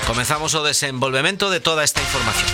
Comezamos o desenvolvemento de toda esta información.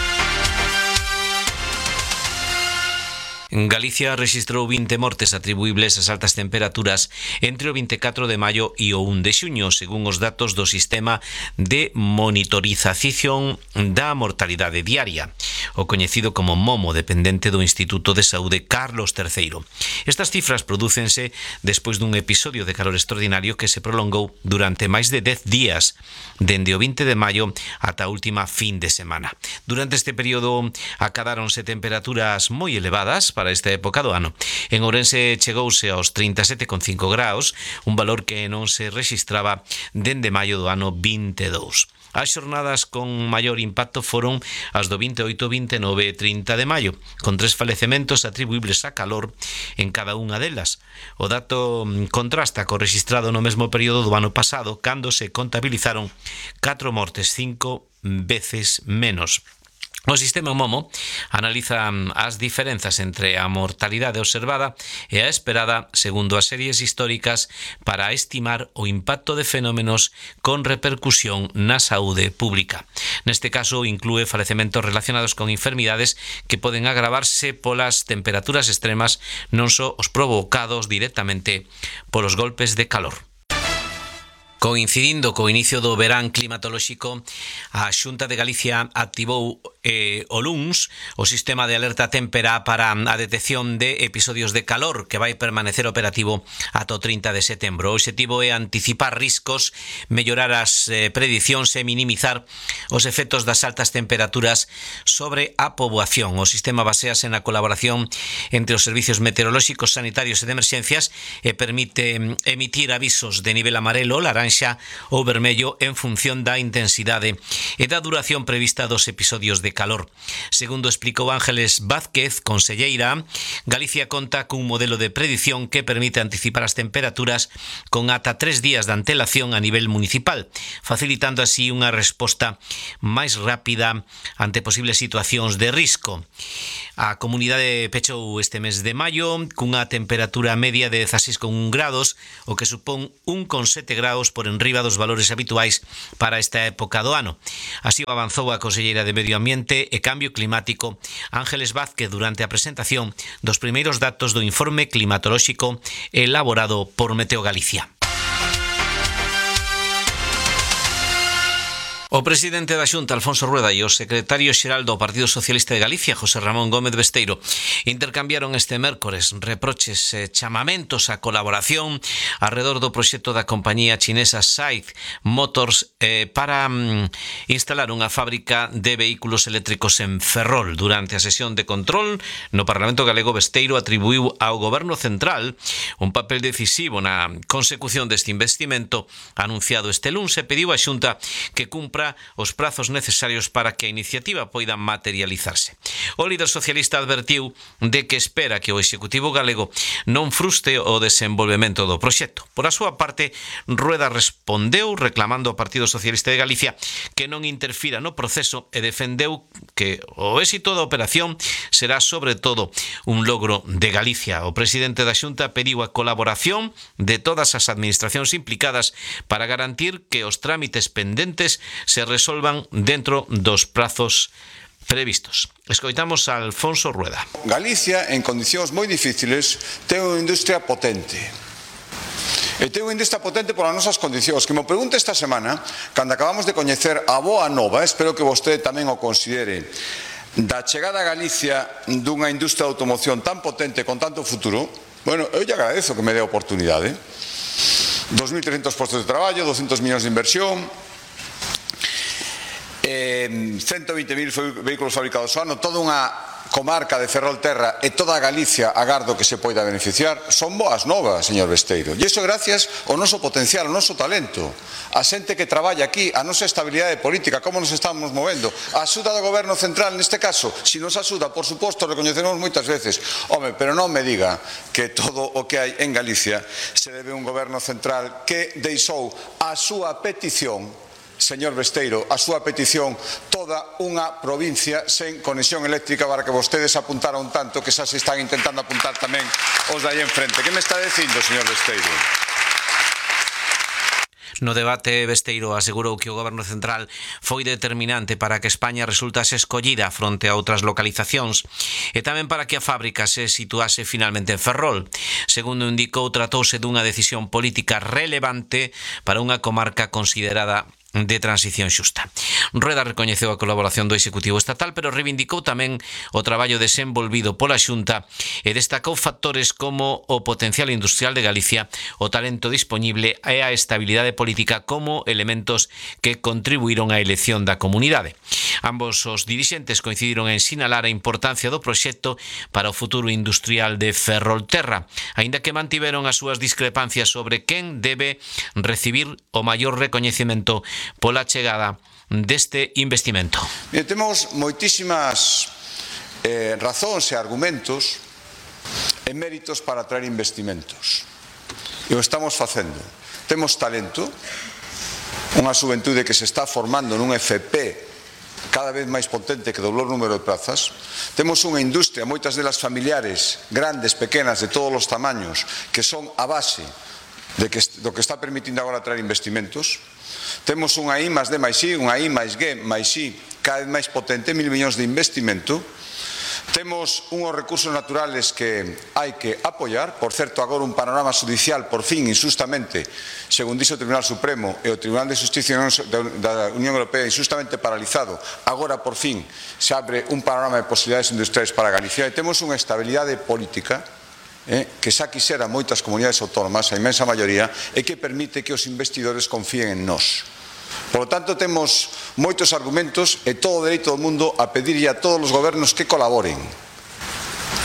Galicia registrou 20 mortes atribuíbles ás altas temperaturas entre o 24 de maio e o 1 de xuño, según os datos do Sistema de Monitorización da Mortalidade Diaria, o coñecido como MOMO, dependente do Instituto de Saúde Carlos III. Estas cifras prodúcense despois dun episodio de calor extraordinario que se prolongou durante máis de 10 días, dende o 20 de maio ata a última fin de semana. Durante este período acadáronse temperaturas moi elevadas para esta época do ano. En Ourense chegouse aos 37,5 graus, un valor que non se rexistraba dende maio do ano 22. As xornadas con maior impacto foron as do 28, 29 e 30 de maio, con 3 falecementos atribuíbles a calor en cada unha delas. O dato contrasta co rexistrado no mesmo período do ano pasado, cando se contabilizaron 4 mortes, 5 veces menos. O sistema MOMO analiza as diferenzas entre a mortalidade observada e a esperada segundo as series históricas para estimar o impacto de fenómenos con repercusión na saúde pública. Neste caso, inclúe falecementos relacionados con enfermidades que poden agravarse polas temperaturas extremas, non só os provocados directamente polos golpes de calor. Coincidindo co inicio do verán climatolóxico, a Xunta de Galicia activou o luns o sistema de alerta témpera para a detección de episodios de calor que vai permanecer operativo ata o 30 de setembro. O obxectivo é anticipar riscos, mellorar as predicións e minimizar os efectos das altas temperaturas sobre a poboación. O sistema basease na colaboración entre os servicios meteorolóxicos, sanitarios e de emerxencias e permite emitir avisos de nivel amarelo, laranxa ou vermello en función da intensidade e da duración prevista dos episodios de calor. Segundo explicou Ángeles Vázquez, conselleira, Galicia conta cun modelo de predición que permite anticipar as temperaturas con ata 3 días de antelación a nivel municipal, facilitando así unha resposta máis rápida ante posibles situacións de risco. A comunidade pechou este mes de maio cunha temperatura media de 16,1 grados, o que supón 1,7 grados por enriba dos valores habituais para esta época do ano. Así o avanzou a conselleira de Medio Ambiente e Cambio Climático, Ángeles Vázquez, durante a presentación dos primeiros datos do informe climatolóxico elaborado por Meteo Galicia. O presidente da Xunta, Alfonso Rueda, e o secretario xeral do Partido Socialista de Galicia, José Ramón Gómez Besteiro, intercambiaron este mércores reproches e chamamentos á colaboración alrededor do proxecto da compañía chinesa SAIC Motors para instalar unha fábrica de vehículos eléctricos en Ferrol. Durante a sesión de control no Parlamento galego, Besteiro atribuiu ao Goberno Central un papel decisivo na consecución deste investimento anunciado este luns e pediu á Xunta que cumpra os prazos necesarios para que a iniciativa poida materializarse. O líder socialista advertiu de que espera que o Executivo galego non frustre o desenvolvemento do proxecto. Por a súa parte, Rueda respondeu reclamando ao Partido Socialista de Galicia que non interfira no proceso e defendeu que o éxito da operación será sobre todo un logro de Galicia. O presidente da Xunta pediu a colaboración de todas as administracións implicadas para garantir que os trámites pendentes se resolvan dentro dos prazos previstos. Escoitamos a Alfonso Rueda. Galicia, en condicións moi difíciles, ten unha industria potente. E ten unha industria potente polas nosas condicións. Que me pregunte esta semana, cando acabamos de coñecer a boa nova, espero que vostede tamén o considere, da chegada a Galicia dunha industria de automoción tan potente con tanto futuro, bueno, eu lle agradezo que me dé a oportunidade. 2.300 postos de traballo, 200 millóns de inversión, 120.000 vehículos fabricados ao ano, toda unha comarca de Ferrolterra e toda a Galicia agardo que se poida beneficiar. Son boas novas, señor Besteiro, e iso gracias ao noso potencial, ao noso talento, a xente que traballa aquí, a nosa estabilidade política, como nos estamos movendo, a axuda do Goberno Central neste caso. Si nos axuda, por suposto, recoñecemos moitas veces, home, pero non me diga que todo o que hai en Galicia se debe a un Goberno Central que deixou a súa petición, señor Besteiro, a súa petición, toda unha provincia sen conexión eléctrica, para que vostedes apuntaron tanto que xa se están intentando apuntar tamén os de aí enfrente. Que me está dicindo, señor Besteiro? No debate, Besteiro asegurou que o Goberno Central foi determinante para que España resultase escollida fronte a outras localizacións e tamén para que a fábrica se situase finalmente en Ferrol. Segundo indicou, tratouse dunha decisión política relevante para unha comarca considerada de transición xusta. Rueda recoñeceu a colaboración do Executivo Estatal, pero reivindicou tamén o traballo desenvolvido pola Xunta e destacou factores como o potencial industrial de Galicia, o talento dispoñible e a estabilidade política como elementos que contribuíron á elección da comunidade. Ambos os dirixentes coincidiron en sinalar a importancia do proxecto para o futuro industrial de Ferrolterra, aínda que mantiveron as súas discrepancias sobre quen debe recibir o maior recoñecemento pola chegada deste investimento. Temos moitísimas razóns e argumentos e méritos para atraer investimentos. E o estamos facendo. Temos talento, unha xuventude que se está formando nun FP cada vez máis potente que doblou o número de plazas. Temos unha industria, moitas delas familiares, grandes, pequenas, de todos os tamaños, que son a base do que está permitindo agora atraer investimentos. Temos unha I más D máis I, unha I máis G máis I cada vez máis potente, 1.000 millóns de investimento. Temos unhos recursos naturales que hai que apoiar. Por certo, agora un panorama judicial, por fin, injustamente, según dixo o Tribunal Supremo e o Tribunal de Justicia da Unión Europea, injustamente paralizado. Agora, por fin, se abre un panorama de posibilidades industriais para Galicia e temos unha estabilidade política que xa quixera moitas comunidades autónomas, a inmensa maioría, e que permite que os investidores confíen en nós. Por lo tanto, temos moitos argumentos e todo o dereito do mundo a pedirlle a todos os gobernos que colaboren.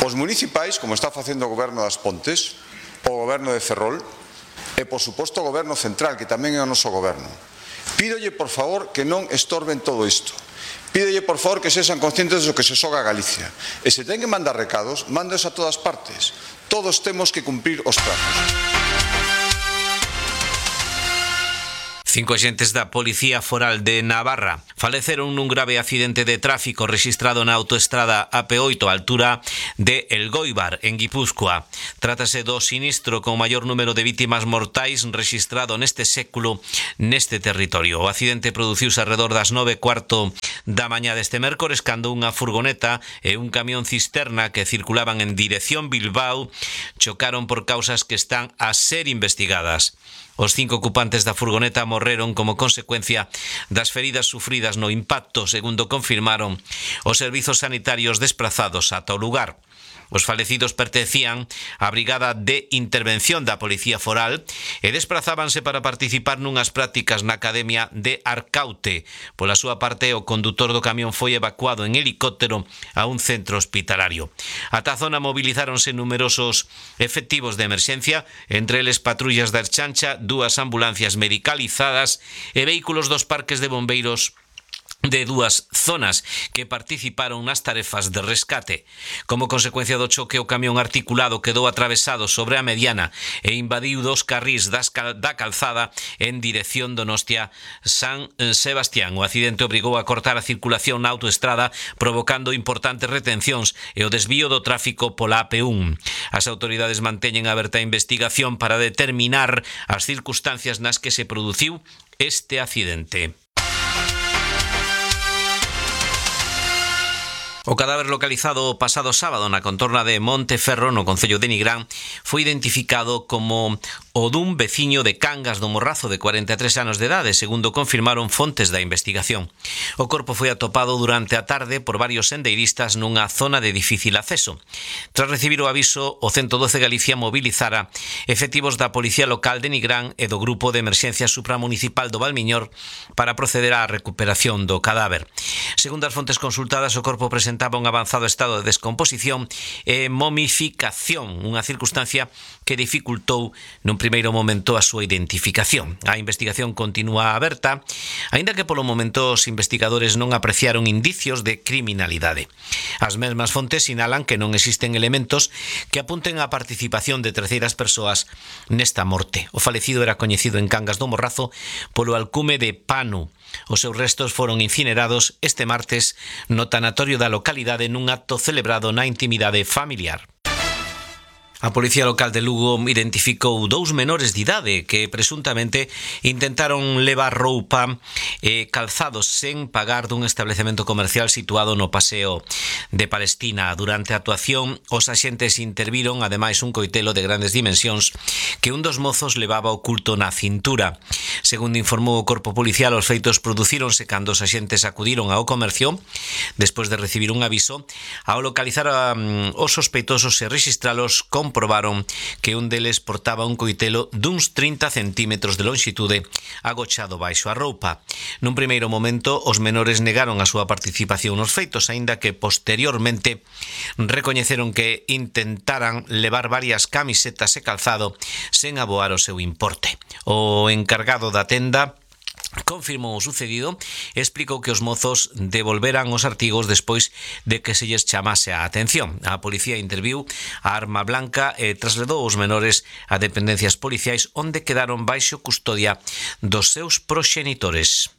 Os municipais, como está facendo o goberno das Pontes, o goberno de Ferrol, e, por suposto, o goberno central, que tamén é o noso goberno. Pídolle, por favor, que non estorben todo isto. Pídolle, por favor, que sexan conscientes do que se xoga a Galicia. E se ten que mandar recados, mándeos a todas partes. Todos temos que cumprir os prazos. 5 axentes da Policía Foral de Navarra faleceron nun grave accidente de tráfico rexistrado na autoestrada AP8 á altura de Elgoibar, en Guipúzcoa. Trátase do sinistro con maior número de vítimas mortais rexistrado neste século neste territorio. O accidente produciuse alrededor das 9:15 da mañá deste mércores cando unha furgoneta e un camión cisterna que circulaban en dirección Bilbao chocaron por causas que están a ser investigadas. Os 5 ocupantes da furgoneta morreron como consecuencia das feridas sufridas no impacto, segundo confirmaron os servizos sanitarios desprazados ata o lugar. Os falecidos pertencían á Brigada de Intervención da Policía Foral e desprazábanse para participar nunhas prácticas na Academia de Arcaute. Pola súa parte, o condutor do camión foi evacuado en helicóptero a un centro hospitalario. Ata a zona movilizáronse numerosos efectivos de emerxencia, entre eles patrullas da Erchancha, 2 ambulancias medicalizadas e vehículos dos parques de bombeiros de 2 zonas que participaron nas tarefas de rescate. Como consecuencia do choque, o camión articulado quedou atravesado sobre a mediana e invadiu 2 carrís da calzada en dirección Donostia-San Sebastián. O accidente obrigou a cortar a circulación na autoestrada, provocando importantes retencións e o desvío do tráfico pola AP1. As autoridades manteñen aberta a investigación para determinar as circunstancias nas que se produciu este accidente. O cadáver localizado o pasado sábado na contorna de Monteferro, no concello de Nigrán, foi identificado como o dun veciño de Cangas do Morrazo de 43 anos de idade, segundo confirmaron fontes da investigación. O corpo foi atopado durante a tarde por varios sendeiristas nunha zona de difícil acceso. Tras recibir o aviso, o 112 Galicia mobilizara efectivos da Policía Local de Nigrán e do Grupo de Emerxencia Supramunicipal do Valmiñor para proceder á recuperación do cadáver. Segundo as fontes consultadas, o corpo presentaba un avanzado estado de descomposición e momificación, unha circunstancia que dificultou nun primeiro momento a súa identificación. A investigación continúa aberta, aínda que polo momento os investigadores non apreciaron indicios de criminalidade. As mesmas fontes sinalan que non existen elementos que apunten á participación de terceiras persoas nesta morte. O falecido era coñecido en Cangas do Morrazo polo alcume de Panu. Os seus restos foron incinerados este martes no tanatorio da localidade nun acto celebrado na intimidade familiar. A Policía Local de Lugo identificou 2 menores de idade que presuntamente intentaron levar roupa e calzados sen pagar dun establecemento comercial situado no Paseo de Palestina. Durante a actuación, os axentes interviron ademais un coitelo de grandes dimensións que un dos mozos levaba oculto na cintura. Segundo informou o Corpo Policial, os feitos producíronse cando os axentes acudiron ao comercio despois de recibir un aviso. Ao localizar os sospeitosos e rexistralos, comprobaron que un deles portaba un coitelo duns 30 centímetros de lonxitude agochado baixo a roupa. Nun primeiro momento, os menores negaron a súa participación nos feitos, aínda que posteriormente recoñeceron que intentaran levar varias camisetas e calzado sen aboar o seu importe. O encargado da tenda confirmou o sucedido e explicou que os mozos devolveran os artigos despois de que se lles chamase a atención. A policía interviu a arma blanca e trasladou os menores a dependencias policiais onde quedaron baixo custodia dos seus proxenitores.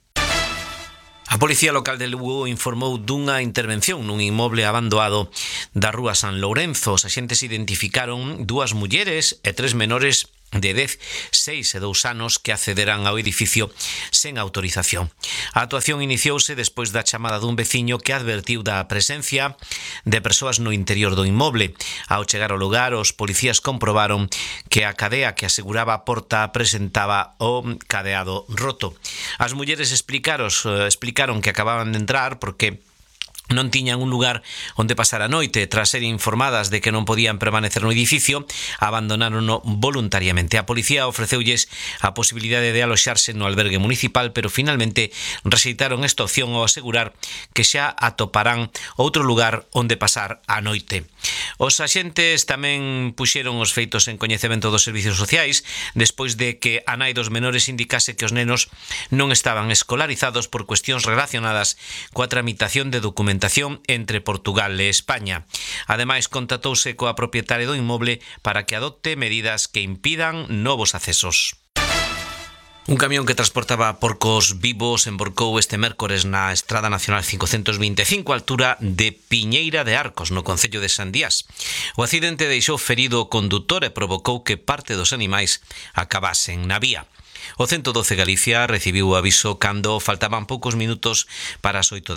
A Policía Local de Lugo informou dunha intervención nun inmoble abandonado da rúa San Lourenzo. Os axentes identificaron 2 mulleres e 3 menores de 10, 6 e 2 anos que accederán ao edificio sen autorización. A actuación iniciouse despois da chamada dun veciño que advertiu da presencia de persoas no interior do inmoble. Ao chegar ao lugar, os policías comprobaron que a cadea que aseguraba a porta presentaba o cadeado roto. As mulleres explicaron que acababan de entrar porque non tiñan un lugar onde pasar a noite. Tras ser informadas de que non podían permanecer no edificio, abandonárono voluntariamente. A policía ofreceulles a posibilidade de aloxarse no albergue municipal, pero finalmente rexeitaron esta opción ao asegurar que xa atoparán outro lugar onde pasar a noite. Os axentes tamén puxeron os feitos en coñecemento dos servicios sociais despois de que a nai dos menores indicase que os nenos non estaban escolarizados por cuestións relacionadas coa tramitación de documentación entre Portugal e España. Ademais, contatouse coa propietaria do inmoble para que adopte medidas que impidan novos accesos. Un camión que transportaba porcos vivos emborcou este mércores na Estrada Nacional 525 á altura de Piñeira de Arcos, no concello de Sandiás. O accidente deixou ferido o condutor e provocou que parte dos animais acabasen na vía. O 112 Galicia recibiu o aviso cando faltaban poucos minutos para as 8 da